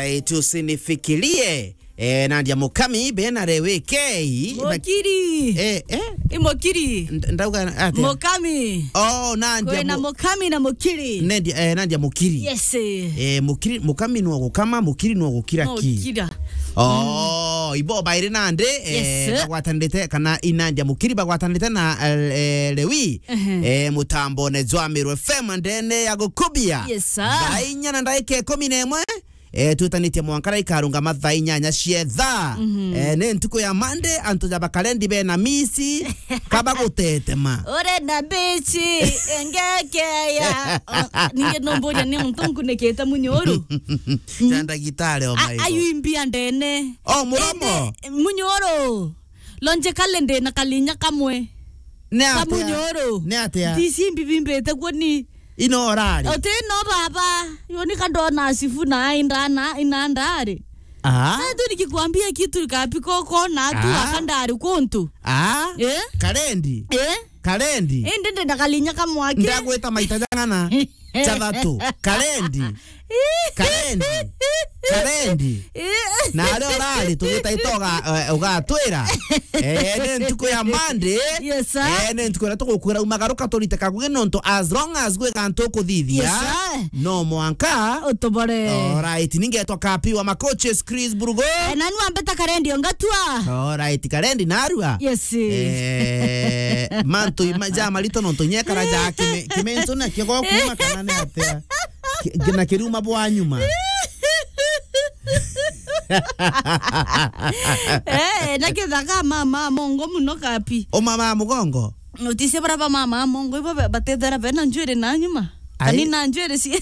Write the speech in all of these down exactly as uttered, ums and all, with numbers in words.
Eh, tusinifikirie. Eh, Nadia Mukami, bena Lewi K. Mukiri. Eh, eh? I Mukiri. Nd-, ndauga atia? Mukami. Oh, Nadia Kwina Mu-, Mukami na Mukiri. Nadia, eh, Nadia Mukiri. Yes. Eh, Mukiri, Mukami no gukama, Mukiri no gukira ki? No gukira. Oh, ibo bairi nandi, eh, Yes. bagwatanirite, kana i Nadia Mukiri bagwatanirite na, eh, eh, Lewi. Ehe. Eh, mutambone jwa Meru F M ndene ya gukubia. Yes, sir. Thaa inya na ndagika ikumi na imwe. Eh, twitanitie mwanka na ikarungama thaa inyanya cia thaa. Mhm. Eh, ni ntuku ya Monday, antu ja bakarendi bena misi, kaba gutetema. Ore na mbici, engekeya. O, ninge no mburia ni muntu nkunikite munyuru. Ja ndagitari o A-, maigo. Ayu imbia ndene. O, muromo. Ende, munyuru. Logically ndi na kalinya kamwe. Ni atia? Kamunyuru. Ni atia? Ndicimbi bimbite kuo ni. Ino orari. Uti no baba. Yo ni kandona sifu na indana, inandari. Ah. Sasa tu nikikwambia kitu kapiko kona tu Ah. akandari kuntu. Ah. Eh? Karendi. Eh? Karendi. Indi ndi na kalinya kamwaki. Ndagwita maita jang'ana. Jathatu. Karendi. Karendi. Karendi. Na aria urari tugita itoga, eh, ugatwira. Eh, ni ntuku ya Monday. Yes, sir. Eh, ni ntuku iria tugukwira umagaruka turite kagugi nontu as long as gwi gantu ukuthithia, Yes, sir. no mwanka. Utubore. Alright, ningetwa Kapi wa Makoches, Chris Burugo. Eh, nani wambeta Karendi ongatua? Alright, Karendi narua. Yes. Eh, mantu ima ja marito nontu nyekara ja kime-, kimentu na kiogo kuma kana ni atia? Ki-, na kiruma bwa nyuma. Eh, na kithaka mama mongo muno Kapi. O mama mugongo? Utise bara ba mama mongo ibo ba-, batethera bena njwiri na nyuma. Ai. Kani na njwiri si.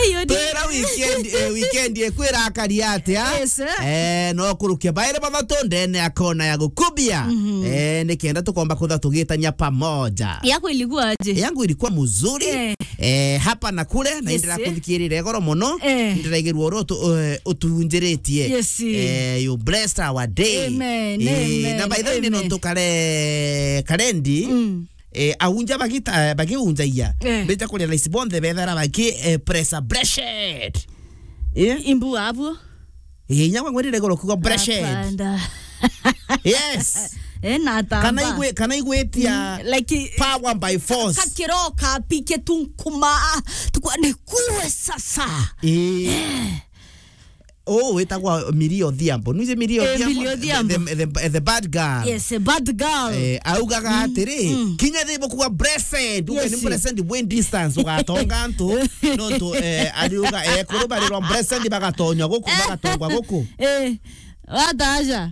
Ayo ni. Twira weekend, eh, weekend ekwira akari atia? Yes, sir. Eh, no kurukia baire bathatu ndene akona ya gukubia. Mhm. Eh, nikenda tukomba kutha tugitania pamoja. Yako ilikuwa aje? Yangu ilikuwa mzuri. Eh. Eh, hapa na kule, na Yes, indira eh. kuthikirira igoro muno. Eh. Ndiraigirwa uru utu-, eh, utunjiritie. Yes. Eh, you blessed our day. Amen, Eh, amen, na by the way, amen. nontu kare-, Karendi, Mm. eh, aunja bagita-, eh, bagiunjagia. Eh. Mbita kuria raisi bonthe bethara baki, eh, pressure, blessed. Eh? Imbu abuo. Eh, inya kwa ngwirire igoro kuga blessed. Apanda. Yes. Eh, na atamba. Kana igwe-, kana igwetia Mm, like, power by force. Kakiro Kapi kitunkuma. Tukwa ni kuwe sasa. Eh. Eh. Oh, wetagwa Millie Odhiambo. Nuje Millie Eh, Odhiambo? Millie Odhiambo. The, the, the, the bad girl. Yes, a bad girl. Eh, augaga Mm, atiri, mm. kinya thibo kuga blessed. Uge Yes. ni blessed when distance ugatonga antu. Nontu, eh, ariuga, eh, kuru barirwa blessed bagatonywa guku, Eh. bagatongwa guku. Eh, wataja.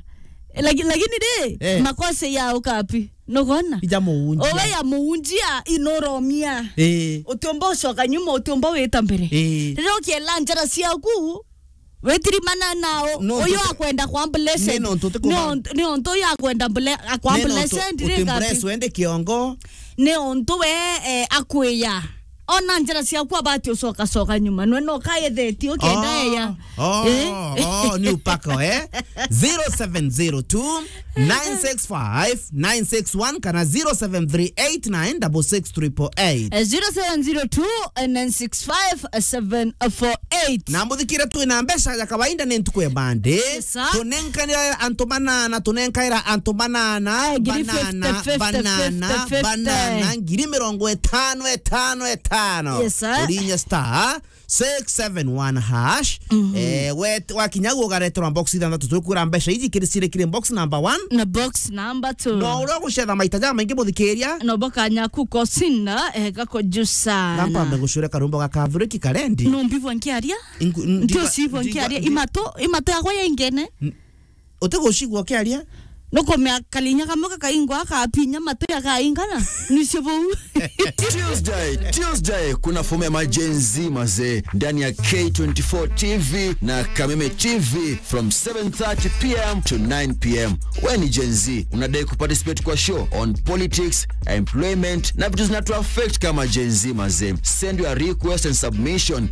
Laki-, lakini ri, Eh. makosa ya Kapi. Nugona? Ija muunjia. Owe ya muunjia inoromia. Eh. Utiumba ucoka nyuma, utiumba wita mbere. Eh. Riria ukiela njara ciaku, witirimana nao, No, uyu ntu-, akwenda kwa blessed. Ni nontu uti Ni kuba- ont-, ni ontu uyu akwenda ble-, akwa Ni nontu blessed, uti ri Kapi. bless wende kiongo. Ni ontu we, eh, akwiya. Ona njara ciaku abati ucoka coka nyuma. Nwe no kaye theti ukenda Oh, eya. oh, Eh? oh, ni upako, eh? Zero seven zero two, nine six five, nine six one kana zero seven three eight nine double six triple eight. Eh, zero seven zero two, nine six five, seven four eight. Na muthikire twi na mbeca ya kawaida ni ntuku ya bande. Yes, sir. Tunenkanira antu banana, tunenkaira antu banana, Eh, ngiri banana, fifty, fifty, banana, fifty, fifty. banana, ngiri mirongo itano, itano, itano. Yes, sir. Urinya star six seven one hash. Mhm. Eh, we, wakinya guo ugareterwa box ithanthatu, tukwira mbeca iji kiri ciri kiri box number one. Na box number two. No uria gucetha maita ja maingi muthikiria. No boka nyaku kosinda, eh, gako juu sana. Na mpambe gucure karumbo ga Kathuriki Karendi. No mbivwa nkiaria? Ingu-, Ndio njiva-, sivwa njiva-, nkiaria. nji- Imato, imato yakwa ya ingene. N-, utigucigua ukiaria? Nukumea kalinya kamwe kakaingwa akapinya matu yakaingana. Nicio buu. Tuesday, Tuesday, kuna fomu ya ma Gen Z mazee ndani ya K twenty-four T V na Kameme T V from seven thirty p m to nine p m. We ni Gen Z, unadai kuparticipate kwa show on politics, employment na vitu zinatu affect kama Gen Z mazee? Send your request and submission